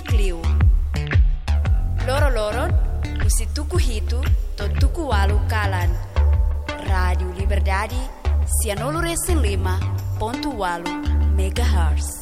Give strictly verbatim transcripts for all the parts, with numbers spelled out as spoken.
Kleur. Loroloron, husi tuku hitu to'o tuku ualu kalan. Rádiu Liberdade, sianulu-resin-lima pontu ualu megahertz.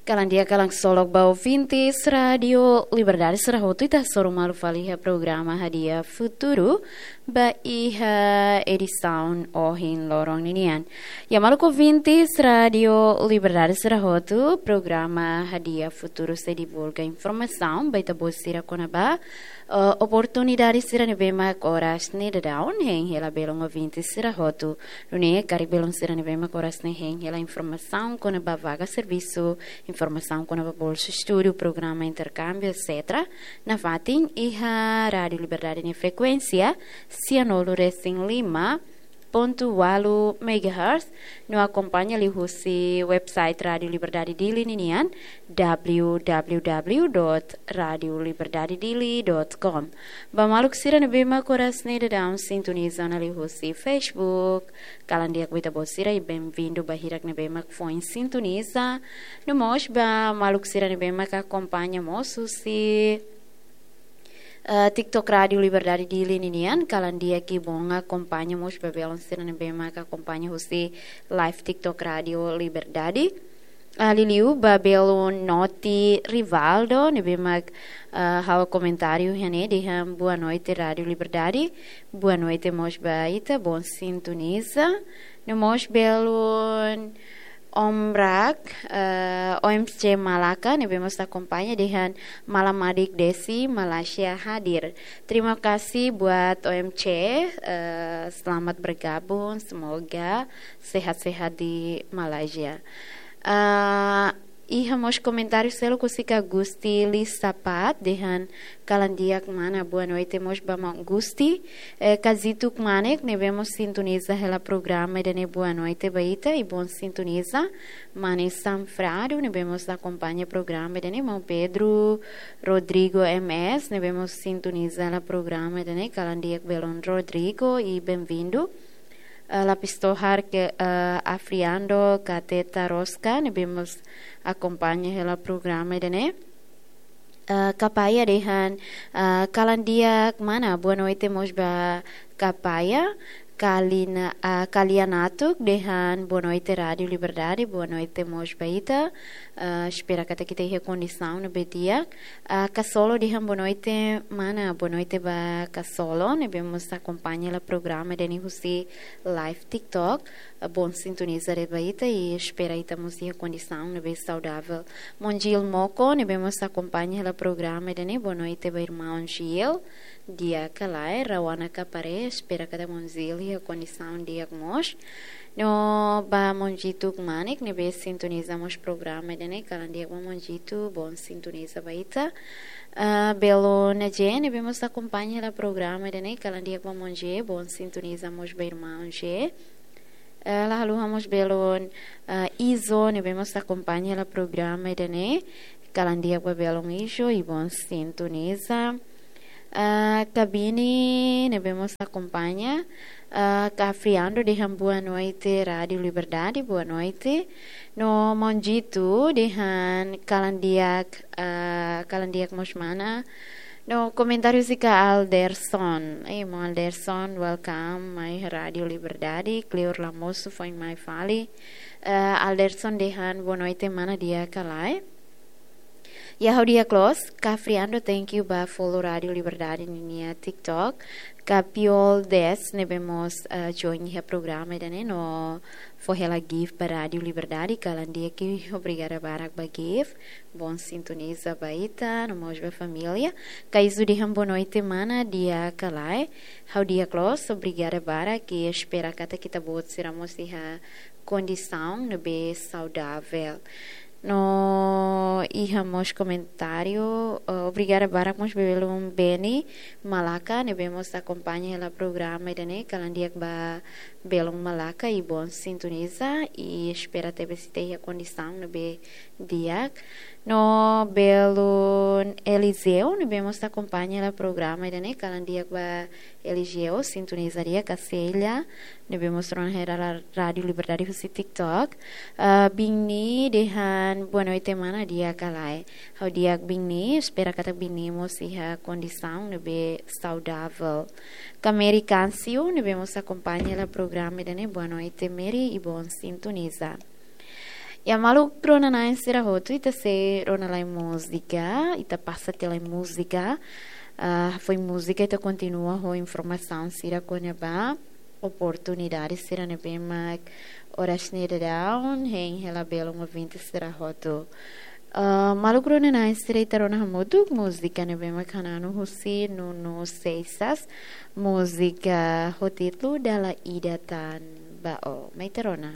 Kalan di'ak, kalan ksolok ba ouvintes Rádiu Liberdade sira hotu, ita hasoru malu fali iha programa Hadi'a Futuru ba iha edisaun ohin loron ninian. Ya, maluk ouvintes Rádiu Liberdade sira hotu, programa Hadi'a Futuru sei divulga informasaun ba ita-boot sira kona-ba eh, oportunidade sira ne'ebé mak oras ne'e daudaun hein hela belun ouvinte sira hotu. Nune'e karik belun sira ne'ebé mak oras ne'e hein hela informasaun kona-ba vaga servisu, informasaun kona-ba bolsa estudu, programa interkámbiu, et cetera. Nafatin iha Rádiu Liberdade nia frekuénsia, sianulu-resin-lima pontu ualu megahertz, no akompaña liuhusi website Rádiu Liberdade Dili ninian, w w w dot radio liberdade dili dot com. Ba maluk sira ne'ebé mak oras ne'e daudaun sintoniza ona liuhusi Facebook, kalan di'ak ba ita-boot sira i benvindu ba hirak ne'ebé mak foin sintoniza. No mós ba maluk sira ne'ebé mak akompaña mós husi eh, TikTok Rádiu Liberdade Dili ninian, kalan di'ak i bom akompaña mós ba belun sira ne'ebé mak akompaña husi live TikTok Rádiu Liberdade. Ah, liuliu ba belun Noti Rivaldo, ne'ebé mak, eh, halo komentáriu iha ne'e dehan boa noite Rádiu Liberdade. Boa noite mós ba ita, bom sintoniza. No mós belun Om Rak, eh, O M C Malaka, ne'ebé mós akompaña dehan malam madik Desi, Malaysia hadir. Terima kasih buat O M C, eh, selamat bergabung, semoga sehat-sehat di Malaysia. Eh, iha mós komentáriu seluk husi Kak Gusti Lisapat, dehan kalan di'ak mana, boa noite mós ba Maun Gusti. Eh, Kazitu Kmanek, ne'ebé mós sintoniza hela programa ida-ne'e, boa noite ba ita i bom sintoniza. Mane Sanfrado, ne'ebé mós akompaña programa ida-ne'e, Maun Pedro Rodrigo M S, ne'ebé mós sintoniza hela programa ida-ne'e, kalan di'ak belun Rodrigo i benvindu. Eh, Lapis Tohar ke, eh, Afriando Kateta Rosca, ne'ebé mós akompaña hela programa ida-ne'e. Eh, Kapaya dehan, eh, kalan di'ak mana, boa noite mós ba Kapaya. Kalina, eh, Kalianatuk dehan boa noite Rádiu Liberdade, boa noite mós ba ita. Eh, espera katak ita iha kondisaun ne'ebé di'ak. Eh, Kasolo dehan boa noite mana, boa noite ba Kasolo, ne'ebé mós akompaña hela programa ida-ne'e husi live TikTok. Eh, bom sintoniza de'it ba ita i espera ita mós iha kondisaun ne'ebé saudavel. Maun Gil Moko, ne'ebé mós akompaña hela programa ida-ne'e, boa noite ba irmaun Gil. Di'ak ka lae, Rawana Kapare, espera katak Maun Gil iha kondisaun di'ak mós. No ba Maun Jitu Kmanek, ne'ebé sintoniza mós programa ida-ne'e, kalan di'ak ba Maun Jitu, bom sintoniza ba ita. Eh, belun Naje, ne'ebé mós akompaña hela programa ida-ne'e, kalan di'ak ba Maun Je, bom sintoniza mós ba irmaun Je. Eh, la haluha mós belun, eh, Izo, ne'ebé mós akompaña hela programa ida-ne'e, kalan di'ak ba belun Izo i bom sintoniza. Eh, Kabini, ne'ebé mós akompaña. Eh, Kafriando dehan boa noite Rádiu Liberdade, boa noite. No Maun Jitu dehan kalan di'ak, eh, kalan di'ak mós mana. No komentáriu husi Kak Alderson. Eh, Maun Alderson, welcome mai Rádiu Liberdade. Kleur la mosu foin mai fali. Eh, Alderson dehan boa noite mana, di'ak ka lae. Ya, ha'u di'ak loos. Kafriando, thank you ba follow Rádiu Liberdade ninia TikTok. Kapiol Des, ne'ebé mós, eh, join iha programa ida-ne'e no fó hela gift ba Rádiu Liberdade, kalan di'ak i obrigada barak ba gift. Bom sintoniza ba ita, no mós ba família. Kaizu dehan boa noite mana, di'ak ka lae. Ha'u di'ak loos, obrigada barak i espera katak ita-boot sira mós iha kondisaun ne'ebé saudavel. No iha mós komentáriu, eh, obrigada barak mós ba belun Beni Malaka, ne'ebé mós akompaña hela programa ida-ne'e, kalan di'ak ba belun Malaka i Bon Sintoniza, i espera tebes ita iha kondisaun ne'ebé di'ak. No belun Eliseu ne'ebé mós akompaña hela programa ida-ne'e, kalan di'ak ba Eliseu, sintoniza di'ak Kaselha, ne'ebé mós rona hela Rádiu Liberdade husi TikTok. Ah, biin ne'e dehan boa noite mana, di'ak ka lae? Ha'u di'ak biin ne'e, espera katak biin ne'e mós iha kondisaun ne'ebé saudavel. Kameri Kansiu ne'ebé mós akompaña hela programa ida-ne'e, boa noite Meri i Bon Sintoniza. Ya, maluk rona-na'in sira hotu, ita sei rona lai múzika, ita pasa tiha lai múzika. Ah, foin múzika ita kontinua ho informasaun sira kona-ba oportunidade sira ne'ebé mak oras ne'e daudaun hein hela belun ouvinte sira hotu. Ah, maluk rona-na'in sira, ita rona hamutuk múzika ne'ebé mak hananu husi Nuno Seixas, múzika ho títulu Dala Ida Tan Ba Ó. Mai ita rona.